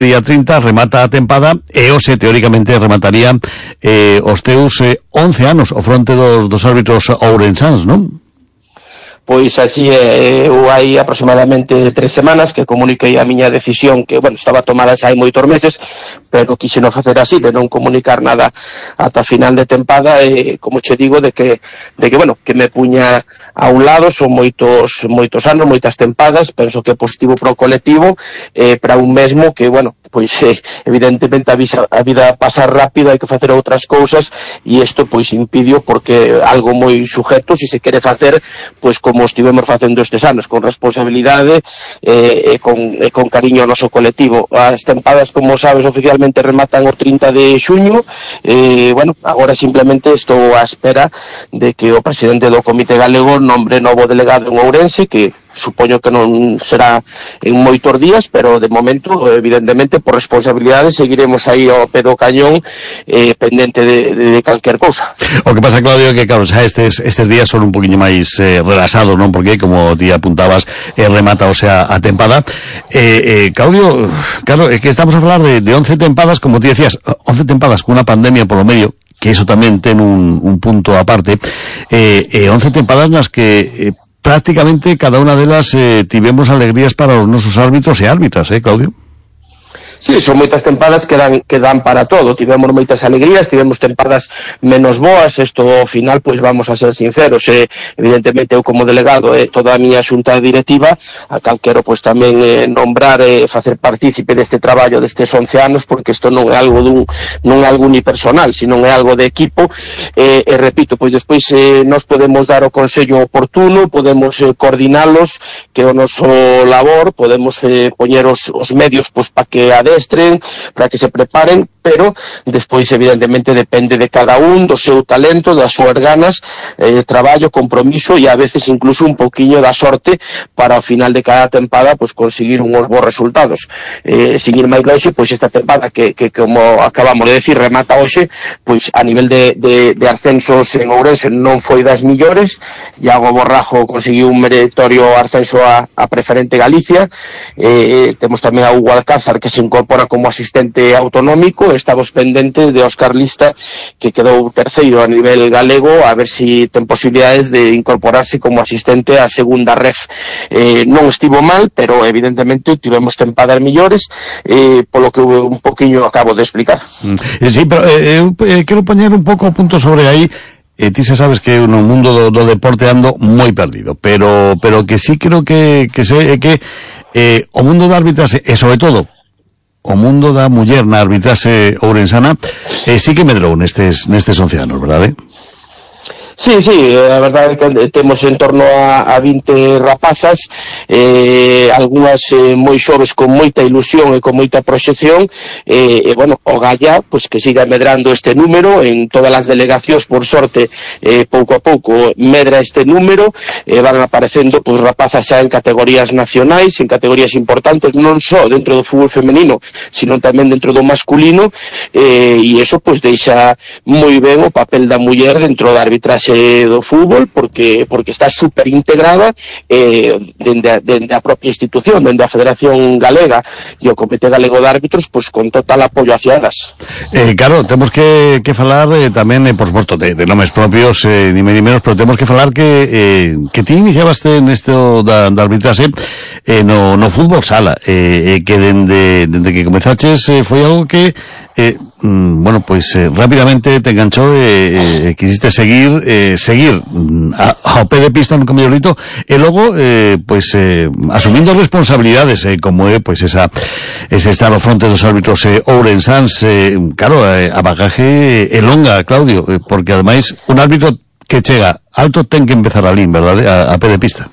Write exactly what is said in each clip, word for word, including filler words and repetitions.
día trinta remata a tempada e hoxe teóricamente remataría eh, os teus eh, once anos ao fronte dos, dos árbitros ourensáns, non? Pois así é, eu hai aproximadamente tres semanas que comuniquei a miña decisión que, bueno, estaba tomada xa hai moitos meses, pero quixen non facer así, de non comunicar nada ata final de tempada, e como che digo, de que, de que bueno, que me puña a un lado, son moitos moitos anos, moitas tempadas, penso que é positivo para o colectivo, eh, para un mesmo que, bueno, pois eh, evidentemente a, visa, a vida pasa rápido, hai que facer outras cousas, e isto pois impidio porque algo moi sujeto, se se quere facer, pois como estivemos facendo estes anos, con responsabilidade eh, e, con, e con cariño ao noso colectivo. As tempadas, como sabes, oficialmente rematan o trinta de xuño, e, bueno, agora simplemente estou á espera de que o presidente do Comité Galego nombre novo delegado en Ourense, que supoño que non será en moitos días, pero de momento, evidentemente, por responsabilidade, seguiremos aí ao pé do cañón, eh, pendente de, de, de calquer cousa. O que pasa, Claudio, que claro, xa estes, estes días son un poquinho máis eh, relaxados, non? Porque, como ti apuntabas, eh, remata, o sea, a tempada. Eh, eh, Claudio, claro, é que estamos a falar de, de once tempadas, como ti decías, once tempadas con unha pandemia polo medio, que eso tamén ten un, un punto aparte, eh, eh, once tempadas nas que... Eh, prácticamente cada unha delas eh, tivemos alegrías para os nosos árbitros e árbitras, eh, Claudio? Sí, son moitas tempadas que dan, que dan para todo. Tivemos moitas alegrías, tivemos tempadas menos boas. Isto ao final, pois vamos a ser sinceros, eh, evidentemente eu como delegado e eh, toda a miña xunta directiva, a cal quero pois tamén eh, nombrar e eh, facer partícipe deste traballo destes once anos, porque isto non é algo dun, non é algo unipersonal, sino é algo de equipo, e eh, eh, repito, pois despois eh, nos podemos dar o consello oportuno, podemos eh, coordinalos, que o noso labor, podemos eh, poñer os, os medios pois para que a estren, para que se preparen, pero despois evidentemente depende de cada un, do seu talento, das súas ganas, eh, traballo, compromiso e a veces incluso un poquinho da sorte para ao final de cada tempada pois conseguir uns bons resultados. Eh, seguir máis longe, pois esta tempada que, que como acabamos de decir remata hoxe, pois a nivel de, de, de ascensos en Ourense non foi das millores. Iago Borrajo conseguiu un meritorio ascenso a, a preferente Galicia, eh, temos tamén a Hugo Alcázar que se incorpora como asistente autonómico. Estamos pendentes de Óscar Lista, que quedou terceiro a nivel galego, a ver si ten posibilidades de incorporarse como asistente a segunda ref. Eh, non estivo mal, pero evidentemente tivemos tempadas millores, eh, polo que un poquinho acabo de explicar. Mm. Sí, pero eh, eu eh, quero poñer un pouco o punto sobre aí. Eh, ti xa sabes que no mundo do, do deporte ando moi perdido, pero pero que sí creo que que sei que eh, o mundo da arbitraxe, e sobre todo o mundo da muller na arbitraxe ourensana, eh, sí que medrou nestes, nestes once anos, verdade? Sí, sí, a verdade é que temos en torno a, a vinte rapazas, eh, algunhas eh, moi xoves con moita ilusión e con moita proxección, e, eh, bueno, o Galla, pois que siga medrando este número, en todas as delegacións, por sorte, eh, pouco a pouco medra este número, eh, van aparecendo pois rapazas xa en categorías nacionais, en categorías importantes, non só dentro do fútbol femenino, sino tamén dentro do masculino, eh, e iso pois deixa moi ben o papel da muller dentro da arbitraxe do fútbol, porque porque está super integrada eh, dende, a, dende a propia institución, dende a Federación Galega e o Comité Galego de Árbitros, pois con total apoio hacia elas. Eh, claro, temos que, que falar eh, tamén, eh, por suposto, de, de nomes propios, eh, ni menos, pero temos que falar que eh, que ti iniciabaste nesto da, da arbitraxe eh, no, no fútbol sala, eh, eh, que dende, dende que comezaches eh, foi algo que eh, mm, bueno, pois eh, rapidamente te enganchou e eh, eh, quisiste seguir eh, seguir mm, a, ao pé de pista, nunca mellor dito, e logo eh, pois eh, asumindo responsabilidades, eh, como é pois esa ese estar ao fronte dos árbitros eh, ourensáns, eh, claro, eh, a bagaje é longa, Claudio, eh, porque ademais un árbitro que chega alto ten que empezar ali, verdade, a, a pé de pista.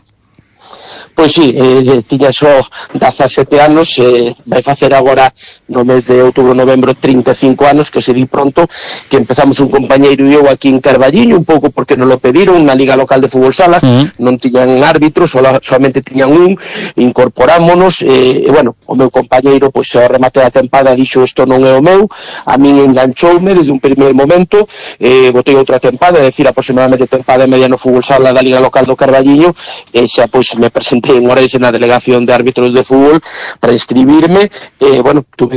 Pois sí, eh, tiña só dezasete anos, eh, vai facer agora no mes de outubro, novembro, trinta e cinco anos, que se di pronto, que empezamos un compañeiro e eu aquí en Carballiño, un pouco porque nos lo pediron, na Liga Local de Fútbol Sala, uh-huh. non tiñan árbitros, sola, solamente tiñan un, incorporámonos, e, e bueno, o meu compañeiro, pois, ao remate da tempada, dixo, isto non é o meu, a min enganchoume desde un primeiro momento, eh, botei outra tempada, é dicir, aproximadamente tempada e media no Fútbol Sala da Liga Local do Carballiño, e xa, pois, me presentou en Orense na delegación de árbitros de fútbol para inscribirme, e, bueno, tuve